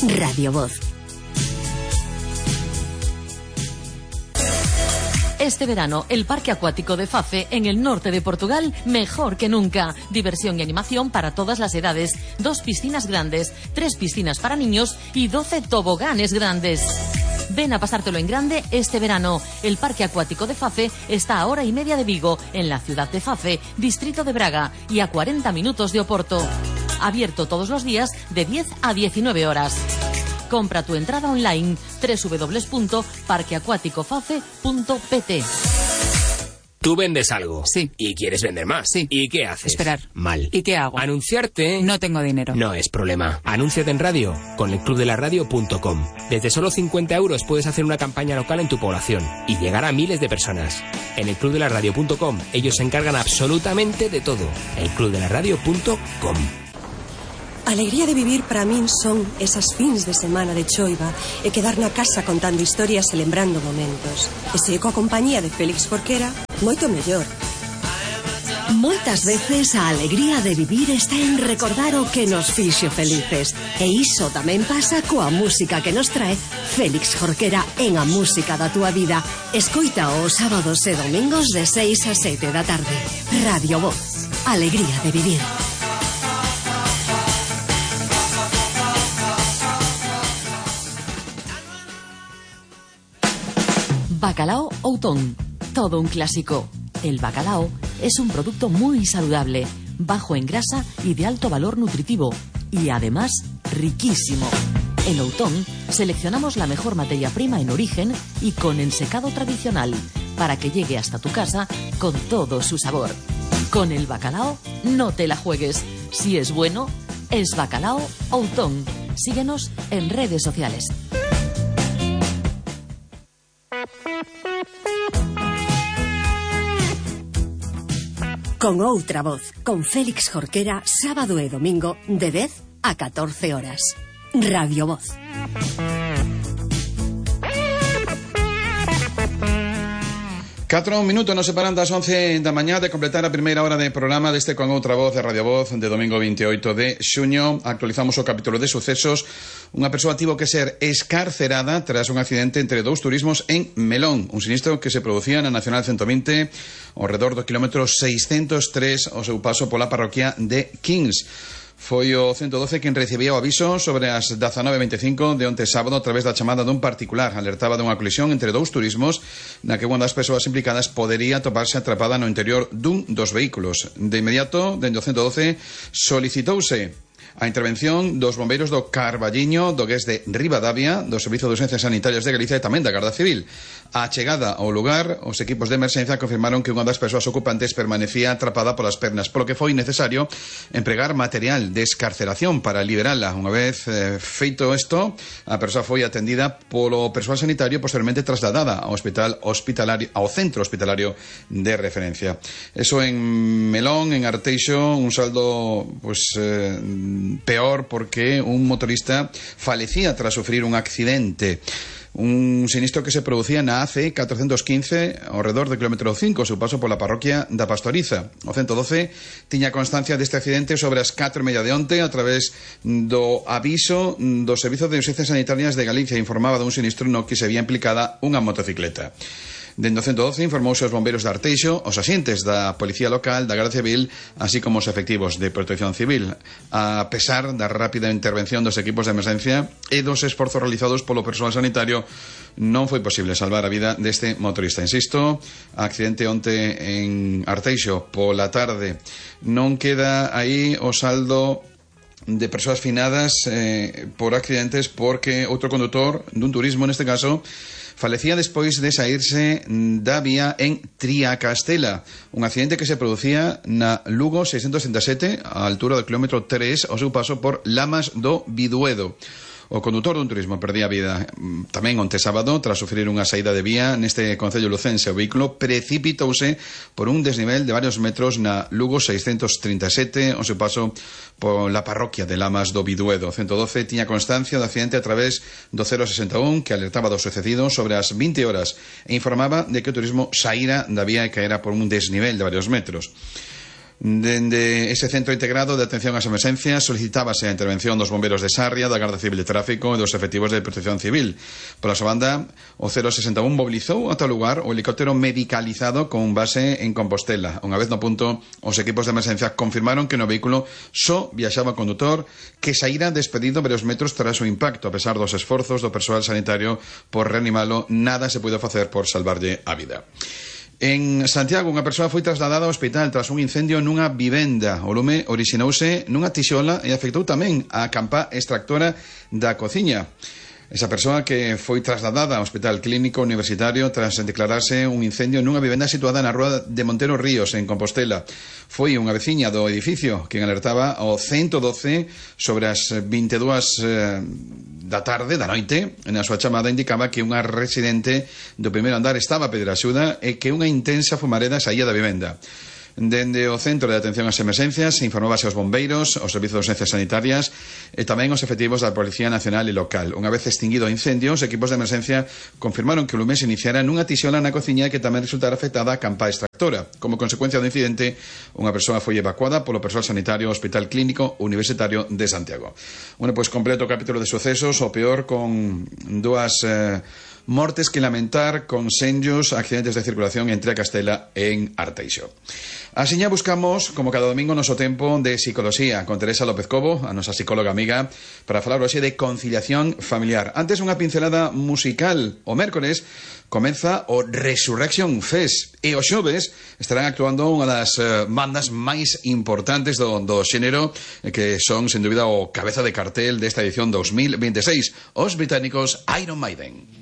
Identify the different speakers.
Speaker 1: Radio Voz.
Speaker 2: Este verano, el Parque Acuático de Fafe, en el norte de Portugal, mejor que nunca. Diversión y animación para todas las edades. 2 piscinas grandes, 3 piscinas para niños y 12 toboganes grandes. Ven a pasártelo en grande este verano. El Parque Acuático de Fafe está a 1 hora y media de Vigo, en la ciudad de Fafe, distrito de Braga, y a 40 minutos de Oporto. Abierto todos los días de 10 a 19 horas. Compra tu entrada online www.parqueacuaticofafe.pt.
Speaker 3: Tú vendes algo.
Speaker 4: Sí.
Speaker 3: Y quieres vender más.
Speaker 4: Sí.
Speaker 3: ¿Y qué haces?
Speaker 4: Esperar.
Speaker 3: Mal.
Speaker 4: ¿Y qué hago?
Speaker 3: Anunciarte.
Speaker 4: No tengo dinero.
Speaker 3: No es problema. Anúnciate en radio con elclubdelaradio.com. Desde solo 50 euros puedes hacer una campaña local en tu población y llegar a miles de personas. En elclubdelaradio.com ellos se encargan absolutamente de todo. elclubdelaradio.com.
Speaker 5: Alegría de vivir para min son esas fins de semana de choiva e quedar na casa contando historias e lembrando momentos. E se coa compañía de Félix Jorquera, moito mellor.
Speaker 1: Moitas veces a alegría de vivir está en recordar o que nos fixo felices. E iso tamén pasa coa música que nos trae Félix Jorquera en A Música da Túa Vida. Escoita os sábados e domingos de 6 a 7 da tarde. Radio Voz. Alegría de vivir.
Speaker 2: Bacalao Outón, todo un clásico. El bacalao es un producto muy saludable, bajo en grasa y de alto valor nutritivo, y además riquísimo. En Outón seleccionamos la mejor materia prima en origen y con ensecado tradicional, para que llegue hasta tu casa con todo su sabor. Con el bacalao no te la juegues. Si es bueno, es Bacalao Outón. Síguenos en redes sociales.
Speaker 1: Con outra voz, con Félix Jorquera, sábado e domingo, de 10 a 14 horas. Radio Voz.
Speaker 6: Catro minutos nos separan das 11 da mañá de completar a primeira hora de programa deste Con Outra Voz de Radio Voz de domingo 28 de xuño. Actualizamos o capítulo de sucesos. Unha persoa tivo que ser escarcerada tras un accidente entre 2 turismos en Melón, un sinistro que se producía na Nacional 120 ao redor do kilómetro 603 ao seu paso pola parroquia de Kings. Foi o 112 quen recibía o aviso sobre as 19:25 de onte sábado a través da chamada dun particular. Alertaba dunha colisión entre 2 turismos na que unha das persoas implicadas podería toparse atrapada no interior dun dos vehículos. De inmediato, dende o 112, solicitouse a intervención dos bombeiros do Carballiño, do GES de Ribadavia, do Servizo de Urxencias Sanitarias de Galicia e tamén da Garda Civil. A chegada ao lugar, os equipos de emerxencia confirmaron que unha das persoas ocupantes permanecía atrapada polas pernas, polo que foi necesario empregar material de escarceración para liberala. Unha vez feito isto, a persoa foi atendida polo persoal sanitario e posteriormente trasladada ao centro hospitalario de referencia. Eso en Melón, en Arteixo, un saldo peor porque un motorista falecía tras sufrir un accidente. Un sinistro que se producía na AC 415 ao redor do kilómetro 5 ao seu paso pola parroquia da Pastoriza. O 112 tiña constancia deste accidente sobre as 4:30 de onte a través do aviso do Servizo de Urxencias Sanitarias de Galicia. Informaba dun sinistro no que se había implicada unha motocicleta. Dende o 112 informouse aos bombeiros de Arteixo, os axentes da Policía Local, da Garda Civil, así como os efectivos de Protección Civil. A pesar da rápida intervención dos equipos de emerxencia e dos esforzos realizados polo persoal sanitario, non foi posible salvar a vida deste motorista. Insisto, accidente onte en Arteixo pola tarde. Non queda aí o saldo de persoas finadas por accidentes, porque outro condutor dun turismo, neste caso, falecía despois de saírse da vía en Triacastela, un accidente que se producía na Lugo 637 á altura do kilómetro 3 ao seu paso por Lamas do Biduedo. O condutor dun turismo perdía a vida tamén onte sábado tras sufrir unha saída de vía neste concello lucense. O vehículo precipitouse por un desnivel de varios metros na Lugo 637 ao seu paso pola parroquia de Lamas do Biduedo. O 112 tiña constancia do accidente a través do 061 que alertaba do sucedido sobre as 20 horas e informaba de que o turismo saíra da vía e caera por un desnivel de varios metros. Dende ese centro integrado de atención ás emerxencias solicitábase a intervención dos bombeiros de Sarria, da Garda Civil de Tráfico e dos efectivos de Protección Civil. Pola súa banda, o 061 mobilizou ata o lugar o helicóptero medicalizado con base en Compostela. Unha vez no punto, os equipos de emerxencia confirmaron que no vehículo só viaxaba o condutor, que saíra despedido varios metros tras o impacto. A pesar dos esforzos do persoal sanitario por reanimalo, nada se puido facer por salvarlle a vida. En Santiago, unha persoa foi trasladada ao hospital tras un incendio nunha vivenda. O lume orixinouse nunha tixola e afectou tamén a campa extractora da cociña. Esa persoa que foi trasladada ao Hospital Clínico Universitario tras declararse un incendio nunha vivenda situada na rúa de Montero Ríos, en Compostela. Foi unha veciña do edificio quen alertaba ao 112 sobre as 22 da tarde, da noite. Na súa chamada indicaba que unha residente do primeiro andar estaba a pedir axuda e que unha intensa fumareda saía da vivenda. Dende o Centro de Atención ás Emerxencias informábase aos bombeiros, aos servizos de urxencias sanitarias e tamén aos efectivos da Policía Nacional e Local. Unha vez extinguido o incendio, os equipos de emerxencia confirmaron que o lume se iniciara nunha tixola na cociña e que tamén resultara afectada a campa extractora. Como consecuencia do incidente, unha persoa foi evacuada polo persoal sanitario ao Hospital Clínico Universitario de Santiago. Bueno, pois completo o capítulo de sucesos, o peor con dúas mortes que lamentar, con senllos accidentes de circulación entre a Castela e en Arteixo. Asiña buscamos, como cada domingo, noso tempo de psicoloxía con Teresa López Cobo, a nosa psicóloga amiga, para falar hoxe de conciliación familiar. Antes, unha pincelada musical. O mércores comeza o Resurrection Fest e os xoves estarán actuando unha das bandas máis importantes do xénero, que son, sen dúbida, o cabeza de cartel desta edición 2026, os británicos Iron Maiden.